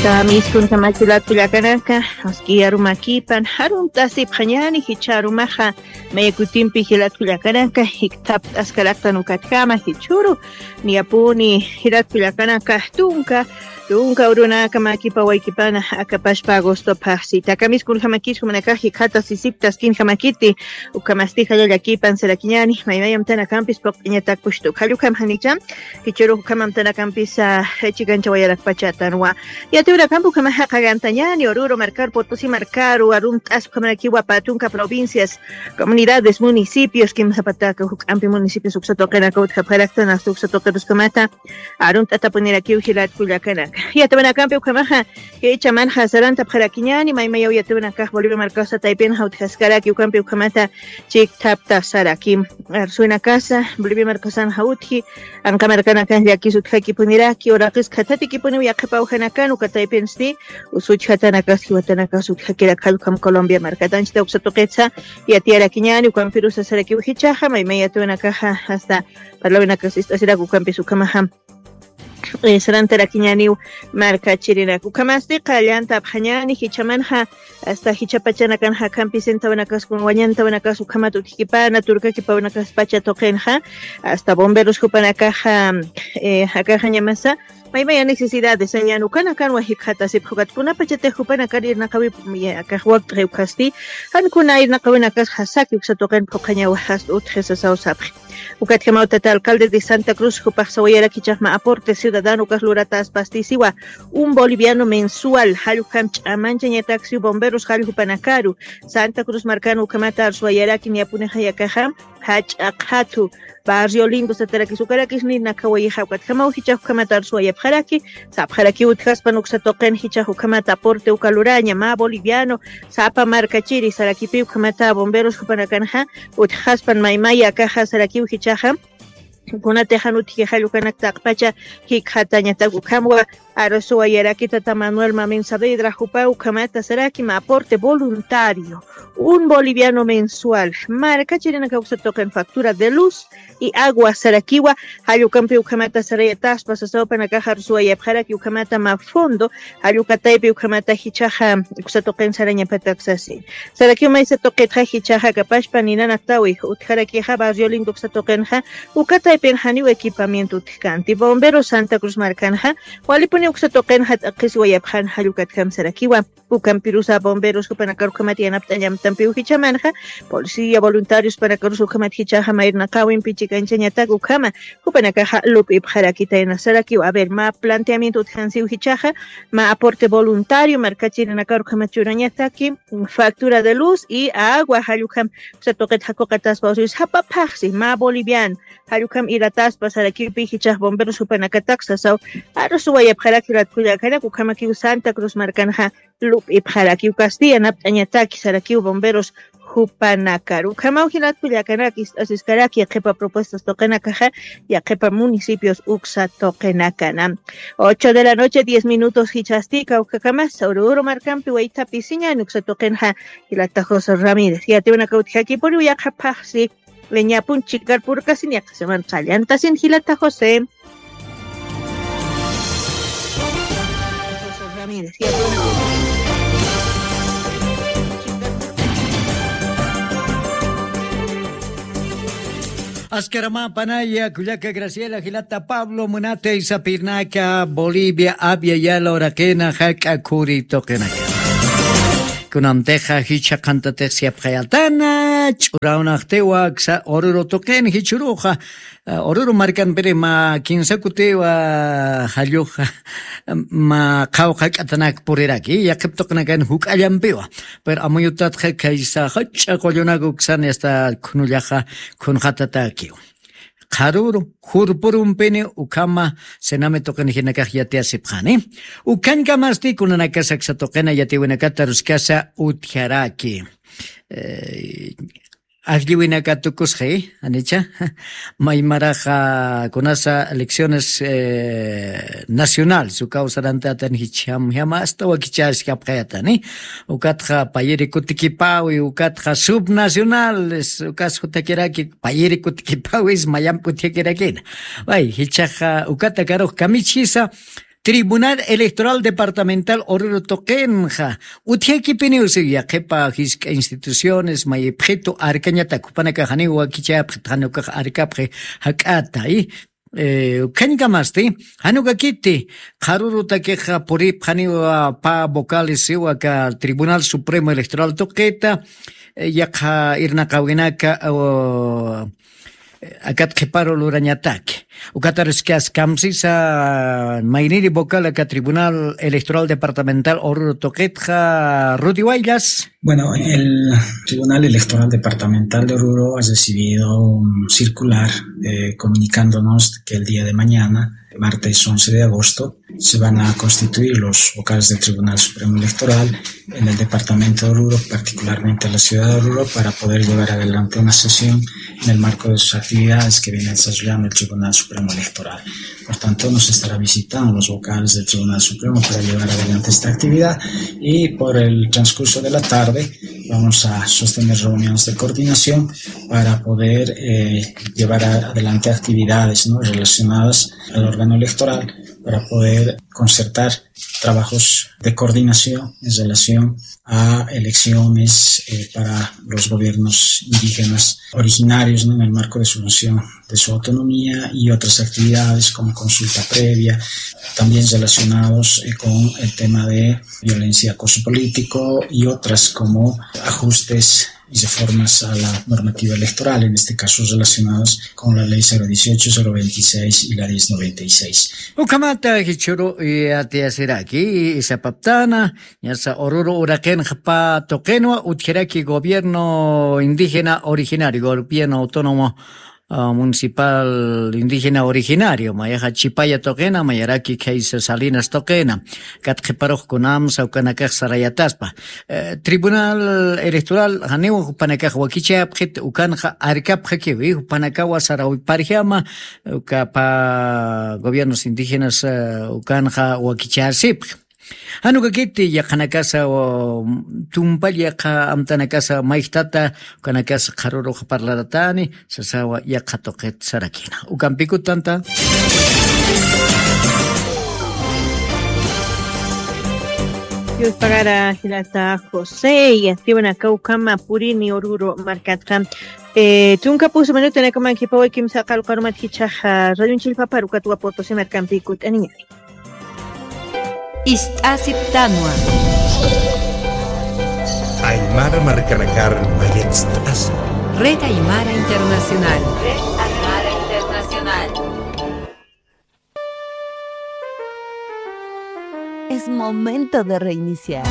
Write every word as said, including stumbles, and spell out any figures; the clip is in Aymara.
Tamiskunjamachi latkullakanaka, aski arumakipan, arunt'asipxañani jichha arumaxa, mayakutimpi jilatkullakanaka, jikthapt'askaraktan ukatkama jichhuru, niyapuni jilatkullakanaka, tunka, tunka urunaka makipa waykipana, akapashpa agosto phaxsi. Takamiskunjamakis jumanakax jikhata sisiptaskinjamakiti, ukhamasti jalla llakipan sarakiñani, maymayamtanakampis puqt'iñatak pushtu, khallukhamjanicha, jichhuru ukhamamtanakampis, ah, chikanchawayarakpachatanwa. Yatiwirakampi ukhamaxa qhagantañani, Oruro markaru, Potosí markaru, arunt'as ukhamarakiwa pä tunka provincias, comunidades, municipios, kimsapataka juk'ampi municipios uksa tuqinaka utjapxaraktan, hasta uksa tuqiruskamata arunt'atapunirakiw jilatkullakanaka. Yatiwinakampi ukhamaxa, jichha manxa sarantapxarakiñani, maymayaw yatiwinakax Bolivia markasa taypinxa utjaskaraki, ukampi ukhamata chikthaptasaraki. Arsuwinakasa, Bolivia markasanxa utji, anqa markanakan llakis utjakipuniraki, uraqis khathatikipuniw yaqhipawjanakan, uka taypinsti, usuchjatanakas, jiwatanakas utjakirak jallkham Colombia markata, anchita uksa tuqitsa, yatiyarakiñani, ukampirus sarakiw jichhaxa, maymay yatiwinakaxa, hasta parlawinakas ist'asirak, ukampis ukhamaxa, eh, sarantarakiñaniw markachirinak. Ukhamasti qallantapxañani, jichhamanxa, hasta jichhapachanakan jakhampi sentawinakas, wañantawinakas ukhamat utjkipana, turkakipawinakas pacha tuqinxa, hasta bomberos jupanakaxa, eh, jakaxañamasa, maymaya necesidades, añan ukanakanwa jikxatasipx, ukat kunapachatix jupanakar irnaqawi, ya, akax wakt'i ukhasti, jan kuna irnaqawinakas jasaki uksa tuqin phuqhañawa, hasta utji sasaw sapxi. Ukatjamaw tata alcalde de Santa Cruz, jupax sawayarak jichhax mä aporte ciudadano ukax lurataspasti siwa, un boliviano mensual, jallkham ch'amanchañataksi bomberos jalljupanakaru, Santa Cruz markan ukhamata arsuwayaraki, niyapunixa yakaxa, jach'a qhathu, barrio lindo satarakis, ukarakis nirnaqawayixa, ukatjamaw jichhax ukhamata arsuwayapxaraki, sapxarakiw utjaspan uksa tuqin jichhax ukhamata aporte uka luraña, mä boliviano, sapa markachiri, sarakipi ukhamata bomberos jupanakanxa, utjaspan maymaya akaxa sarakiw jichhaxa, kunatix jan utji jallkanak taqpacha jikxatañatak ukhamwa, arsuwayaraki tata Manuel Mamin Saavedra, jupa ukhamata saraki mä aporte voluntario, un boliviano mensual, markachirinaka uksa tuqin factura de luz y agua sarakiwa, jall ukampi ukhamata sarayataspa, sasaw jupanakax arsuwayapxaraki ukhamata mä fondo, jall uka taypi ukhamata jichhaxa uksa tuqin sarañapatak sasi. Sarakiw maysa tuqitxa jichhaxa akapashpa ninanaktawi utjarakixa barrio lindo uksa tuqinxa, uka taypin janiw equipamiento utjkanti. Bomberos Santa Cruz markanxa, walipuni uksa tuqinxa t'aqhisiwayapxan jall ukatjam sarakiwa. Ukampirusa bomberos jupanakar ukhamat yanapt'añamtampiw jichhamanxa, policía voluntarios jupanakarus ukhamat jichhaxa mä irnaqawimpi chikanchañatak ukhama, jupanakaxa lup'ipxarakitayna sarakiw. A ver, mä planteamiento utjkansiw jichhaxa, mä aporte voluntario markachirinakar ukhamat churañataki, factura de luz y agua, jall ukham uksa tuqit jakuqataspa usuy sapa phaxsi, mä boliviano, jall ukham ilataspa sarakiw pi jichhax bomberos jupanakatak sasaw, arsuwayapxaraki latkullakanaka, ukhamakiw Santa Cruz markanxa lup'ipxaraki, ukasti yanapt'añataki sarakiw bomberos jupanakar. Ukhamaw jilatkullakanaka ist'asiskaraki yaqhipa propuestas tuqinakaxa, yaqhipa municipios uksa tuqinakana. Ocho de la noche, diez minutos jichhasti kawkakamas, Oruro markampi waytha pisiñan uksa tuqinxa, jilata José Ramírez. Yatiwinaka utjakipuniw yaqha phaxsi, ñapun chikar purkasin, yaqha semana qalltasin jilata José. José Ramírez, yatiwinaka. Askaramä panaya, kullaka Graciela, jilata Pablo, munatay sapirnaka, Bolivia, Abya Yala uraqina, jak'a khuri tuqinaka. Kunamtixa jichha qhantatix siyapxayatana, ch'urawnaqtiwa, aksa Oruro tuqin, jichhüruxa, eh, Oruro markanpiri mä kinsa kutiwa, jalluxa, mä qhawqha k'atanak puriraki, yaqhip tuqinakan juk'allampiwa. Pero amuyutatxa khaysa jach'a qullunak uksan hasta khunullaxa khunxatatakiw. Qharüru, jurpurumpini ukhama, cename tuqin jinakax yatiyasipxani. Ukhañkamasti kunanakas aksa tuqina yatiwinakata aruskasa utjaraki. Eh, ajlliwinaka tukusxi, janicha. Maymaraxa kunasa elecciones, eh, nacionales, ukaw sarantatan jichham, jama hasta wakichäskapxayatani. Ukatxa payiri kutikipawi, ukatxa subnacionales, ukas jutakiraki, payiri kutikipawis, mayampi utjakirakina. Way, jichhaxa ukata karux kamichisa, Tribunal Electoral Departamental Oruro tuqinxa, utjakipiniw siw yaqhipa jisk'a instituciones mayipxitu arkañatak jupanakax janiw wakichayapxit, jan ukax arkapxi jak'ata, i, eh, ukhañkamasti, jan ukakiti qharurutakixa puripxaniwa pä vocales siw aka Tribunal Supremo Electoral tuqita, eh, yaqha irnaqawinaka, o, akat qhiparu lurañataki. Ukataruskasa kamsisa mayniri vocal aka Tribunal Electoral Departamental Oruro tuqitxa, Rudy Huayllas. Bueno, el Tribunal Electoral Departamental de Oruro ha recibido un circular, eh, comunicándonos que el día de mañana, martes once de agosto, se van a constituir los vocales del Tribunal Supremo Electoral en el departamento de Oruro, particularmente en la ciudad de Oruro, para poder llevar adelante una sesión en el marco de sus actividades que viene desarrollando el Tribunal Supremo Electoral. Por tanto, nos estará visitando los vocales del Tribunal Supremo para llevar adelante esta actividad y por el transcurso de la tarde vamos a sostener reuniones de coordinación para poder, eh, llevar a-, adelante actividades, ¿no?, relacionadas al órgano electoral para poder concertar trabajos de coordinación en relación a elecciones, eh, para los gobiernos indígenas originarios, ¿no?, en el marco de su función de su autonomía y otras actividades como consulta previa, también relacionados, eh, con el tema de violencia, acoso político y otras como ajustes y reformas a la normativa electoral, en este caso relacionadas con la ley cero dieciocho, cero veintiséis y la diez noventa y seis. Ukhamata jichhüru yatiyasiraki, sapaptana, ñasa Oruro uraqinxa pä tuqinwa utjaraki gobierno indígena originario, gobierno autónomo, ah, municipal indígena originario, mayaxa Chipaya tuqina, mayaraki khaysa Salinas tuqina, kat qhiparux kunamsa ukanakax sarayataspa. Eh, Tribunal Electoral janiw jupanakax wakichayapxit, ukanxa arkapxakiwi, jupanakawa sarawparjama, uka pä gobiernos indígenas, eh, ukanxa wakichasipx. Jan ukakiti yaqhanakasa, o, tumpall yaqha amtanakasa mayjtata, ukanakasa qharürux parlaratani, sasawa yaqha tuqit sarakina. Ukampikut tanta. Dios pagara jilata José, yatiwanaka ukhama purini Oruro markatxa. Eh, tunka pusu minutanakaman qhipawaykimsa qalqarumat jichhaxa, eh, radion chillpaparu katwa putusi markampikut aniña. Ist'asiptanwa. Aymara markanakar mayatst'asa. Red Aymara Internacional. Red Aymara Internacional. Es momento de reiniciar.